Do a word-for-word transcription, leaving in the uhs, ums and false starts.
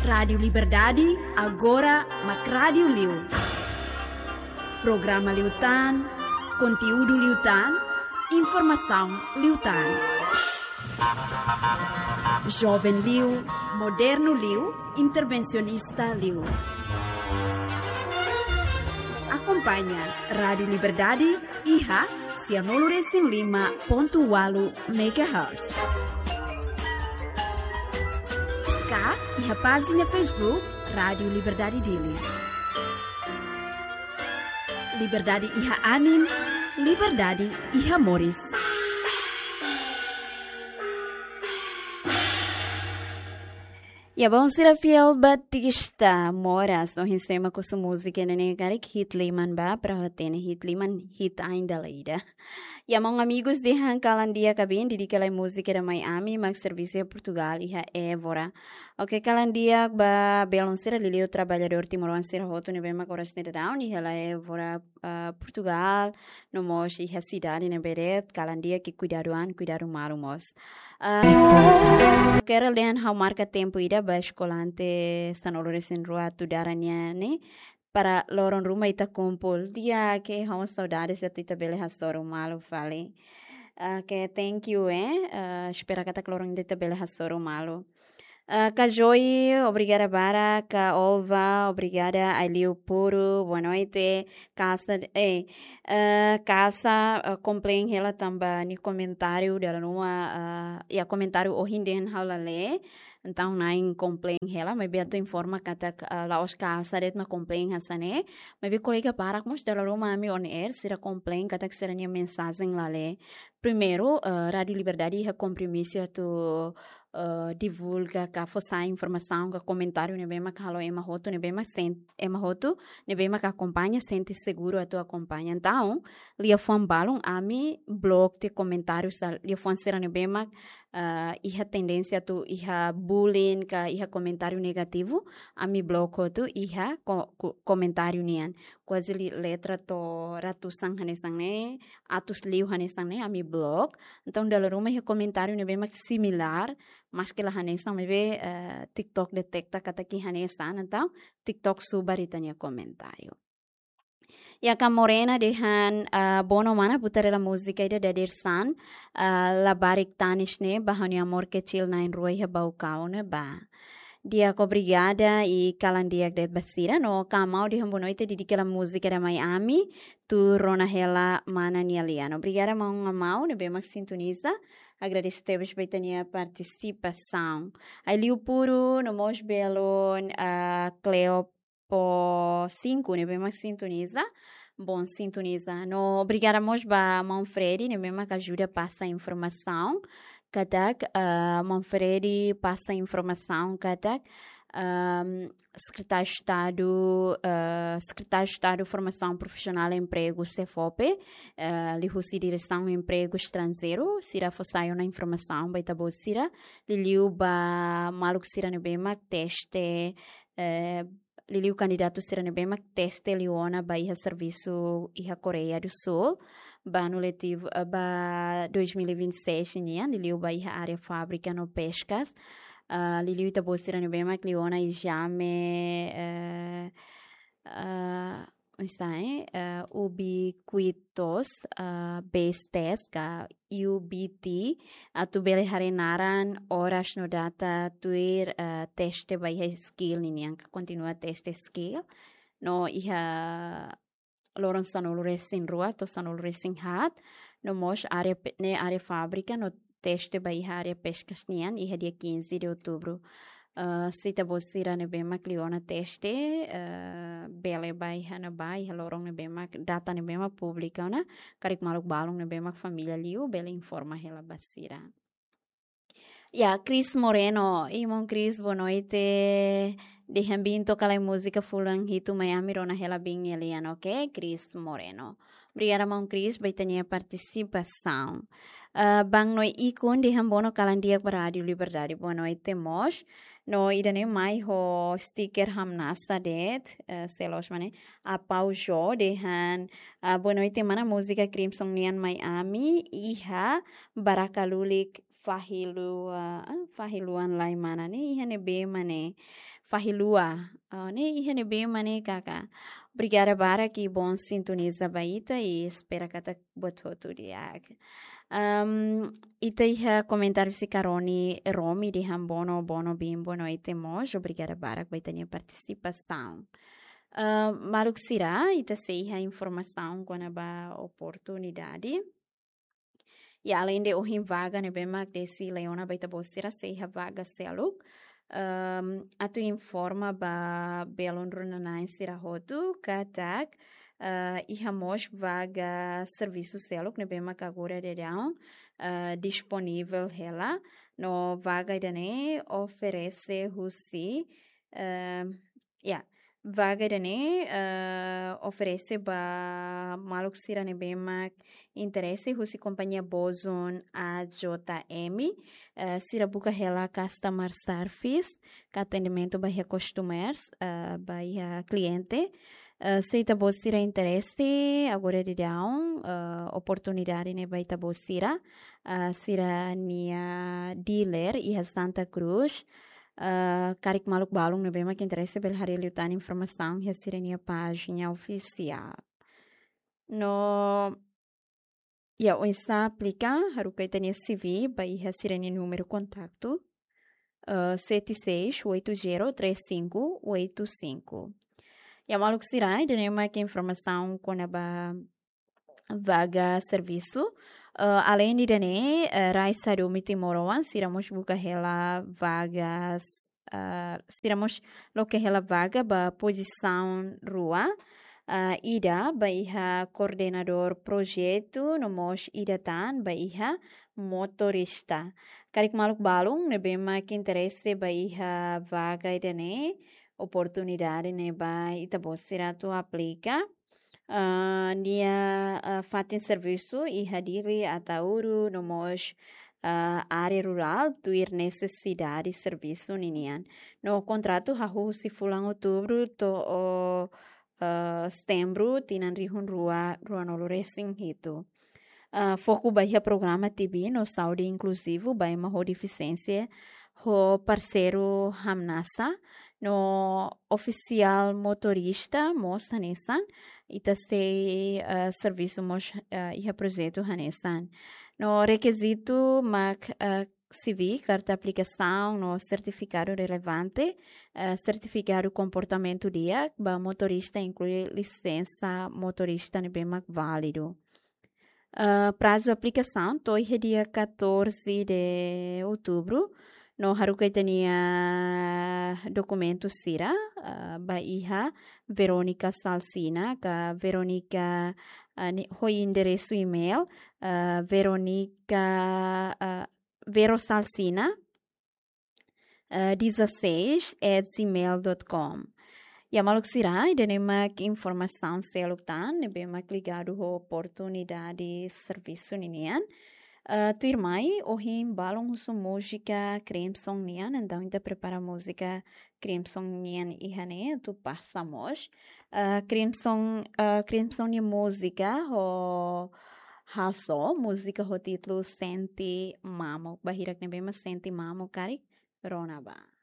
Rádiu Liberdade, agora mak rádiu liu. Programa liután, konteúdu liután, informasaun liután. Joven liu, modernu liu, intervensionista liu. Akompaña Rádiu Liberdade iha sianulu resin lima pontu ualu megahertz. Ka iha pájina Facebook Rádiu Liberdade Dili. Liberdade iha anin, liberdade iha moris. Ya, belun sira, fiel Batista Moras, no hinsema ku su múzika ne'e karik hit liman ba, para hatene hit liman, hit ainda la ida. Ya, maun amigus, dehan kalan di'ak ka bin, dedika lai múzika ida mai ami, mak servisu iha Portugal, iha Évora. Oke, kalan di'ak ba belun sira, liuliu traballadór timoroan sira hotu ne'ebé mak oras ne'e daudaun iha lai Évora, ah, Portugal, no mós iha sidade ne'ebé de'it, kalan di'ak, i kuidadu an, kuidadu malu mós. Ah, Carol dehan ha'u marka tempu ida ba eskolante sanulu resin rua atu dara nian ne'e, para loron ruma ita kumpul. Di'ak, ha'u saudades atu ita bele hasoru malu fali. Oke, thank you, eh. Ah, espera katak loron ida ita bele hasoru malu. Ah, Ka Joy, obrigada barak, Ka Olva, obrigada, Ailiu Puru, boa noite, Kasa, eh, eh, Kasa, eh, komplain hela tanba nia komentáriu dala ruma, ah, ya komentáriu ohin dehan ha'u la lee, entaun na'in komplain hela, maibé atu informa katak, ah, la'ós Kasa de'it mak komplain hanesan ne'e, maibé kolega barak mós dala ruma ami on air, sira komplain katak sira-nia mensajen la lee. Primeiru, eh, Rádiu Liberdade iha kompromisu atu, eh, divulga ka fó sai informasaun ka komentáriu ne'ebé mak halo ema hotu ne'ebé mak sen-, ema hotu ne'ebé mak akompaña sente seguru atu akompaña. Entaun, liafuan balun ami blok tiha komentáriu sira, liafuan sira ne'ebé mak, eh, iha tendénsia atu iha bullying ka iha komentáriu negativu, ami blok hotu iha ko-, ko-, komentáriu nian. Kuaze li-, letra to'o ratusan hanesan ne'e, atus liu hanesan ne'e, ami blok. Entaun dala ruma iha komentáriu ne'ebé mak similár, maske la hanesan, maibé, eh, TikTok deteta katak hanesan, entaun TikTok subar ita-nia komentáriu. Ya, Ka Morena dehan, ah, bono mana, buta hela múzika ida dadeer-saan, ah, labarik tanis ne'e, ba ha'u-nia amor kecil na'in-rua iha Baucau ne'ebá. Di'ak, obrigada, i kalan di'ak de'it ba sira, no Ka Mau dehan boa noite, dedika lai múzika ida mai ami, tuir rona hela mana nia lian. Obrigada, maun Ka Mau, ne'ebé mak sintoniza, agradese tebes ba ita-nia partisipasaun. Ailiu Puru, no mós belun, ah, Cleo Po cinco, ne'ebé mak sintoniza, bom sintoniza. No, obrigada mós ba maun Freddy, ne'ebé mak ajuda pasa informasaun katak, ah, maun Freddy pasa informasaun katak, ahm, Sekretáriu Estadu, ah, Sekretáriu Estadu Formasaun Profisionál Empregu, SEFOPE, ah, liuhusi Diresaun Empregu Estranjeiru, sira fó sai ona informasaun ba ita-boot sira, liuliu ba maluk sira ne'ebé mak teste, eh, liuliu kandidatu sira ne'ebé mak teste liu ona ba iha servisu iha Koreia do Sul, ba anu letivu, eh, ba dois mil e vinte e seis nian, liuliu ba iha área fábrika no peskas, ah, liuliu ita-boot sira ne'ebé mak liu ona ezame, eh, ah, oinsá, eh, eh, ubiquitous, ah, base test ka U B T, atu bele haree naran, oras no data tuir, eh, teste ba iha skill ninian ka kontinua teste skill. No iha loron sanulu resin rua to'o sanulu resin haat, no mós área pe-, ne'e área fábrika no teste ba iha área peskas nian iha dia quinze de outubro. Eh, se ita-boot sira ne'ebé mak liu ona teste, eh, bele ba iha ne'ebá, iha loron ne'ebé mak data ne'ebé mak publika ona, karik maluk balun ne'ebé mak família liu, bele informa hela ba sira. Ya, Chris Moreno, irmão Chris, boa noite. Dehan bin toka lai múzika fulan hitu mai ami, rona hela bin nia lian, oke? Chris Moreno. Obrigada, maun Chris, ba ita-nia partisipasaun. Ah, Bang Noi Ikun dehan bono kalan di'ak ba Rádiu Liberdade. Boa noite mós. No ida-ne'e mai ho sticker hamnasa de'it, eh, selos mane. Apau Jo dehan, ah, boa noite mana, múzika Crimson nian mai ami, iha Barakalulik fahi lua, ah, fahi luan lai mana ne'e, iha ne'ebé mak ne'e. fahi lua. Ah, ne'e iha ne'ebé mak ne'e, kaka. Obrigada barak i bom sintoniza ba ita i espera katak buat hotu di'ak. Ahm, ita iha komentáriu husi Karoni Romi dehan bono, bono bin, boa noite mós. Obrigada barak ba ita-nia partisipasaun. Ah, maluk sira, ita sei iha informasaun kona-ba oportunidade. I aleinde ohin vaga ne'ebé mak Desi Leona ba ita-boot sira, sei iha vaga seluk. Ehm, atu informa ba belun rona-na'in sira hotu katak, eh, iha mós vaga servisu seluk ne'ebé mak agora daudaun, eh, disponivel hela. No vaga ida-ne'e oferese husi, eh, ya, vaga ida-ne'e, eh, oferese ba maluk sira ne'ebé mak interese husi kompañia Bozon A J M, eh, sira buka hela customer service, ka atendimentu ba iha customers, eh, ba iha kliente. Eh, se ita-boot sira interese, agora daudaun, eh, oportunidade ne'e ba ita-boot sira, eh, sira-nia dealer iha Santa Cruz. Eh, karik maluk balun ne'ebé mak interese bele haree liután informasaun iha sira-nia pájina ofisiál. No, ya, oinsá aplika, haruka ita-nia C V ba iha sira-nia númeru kontaktu, eh, sete seis oito zero três cinco oito cinco. Ya, maluk sira, ida-ne'e mak informasaun kona-ba vaga servisu. Eh, aleinde ida-ne'e, eh, rai Sadumi Timoroan, sira mós buka hela vagas, eh, sira mós loke hela vaga ba pozisaun rua. Eh, ida ba iha koordenadór projetu, no mós ida tan ba iha motorista. Karik maluk balun ne'ebé mak interese ba iha vaga ida-ne'e, oportunidade ne'e ba ita-boot sira atu aplika. Ah, nia, ah, fatin servisu iha Dili, Ataúru, no mós, ah, área rurál, tuir nesesidade servisu ninian. No kontratu hahú husi fulan Outubru to'o, ah, Setembru, tinan rihun rua, ruanulu resin hitu. Ah, foku ba iha programa T B no saúde inkluzivu ba ema ho defisiénsia ho parseiru Hamnasa, no ofisiál motorista mós hanesan, ita sei, ah, servisu mós, ah, iha projetu hanesan. No rekizitu mak, ah, C V, karta aplikasaun no sertifikadu relevante, ah, sertifikadu komportamentu di'ak ba motorista, inklui lisensa motorista ne'ebé mak válidu. Ah, prazu aplikasaun to'o iha dia catorze de Outubru. No haruka ita-nia dokumentu sira, ah, ba iha Verónica Salsina, ka Verónica, ah, ni-, ho enderesu email, ah, Verónica, ah, Vero Salsina, eh, dezasseis at gmail dot com. Ya, maluk sira, ida-ne'e mak informasaun seluk tan ne'ebé mak ligadu ho oportunidade servisu ninian. Eh, tuirmai, ohin balun husu múzika Crimson nian, entaun ita prepara múzika Crimson nian iha ne'e atu pasa mós. Eh, Crimson, eh, Crimson nia múzika ho Haso, múzika ho títulu Sente Mamuk. Ba hirak ne'ebé mak sente mamuk karik, rona bá.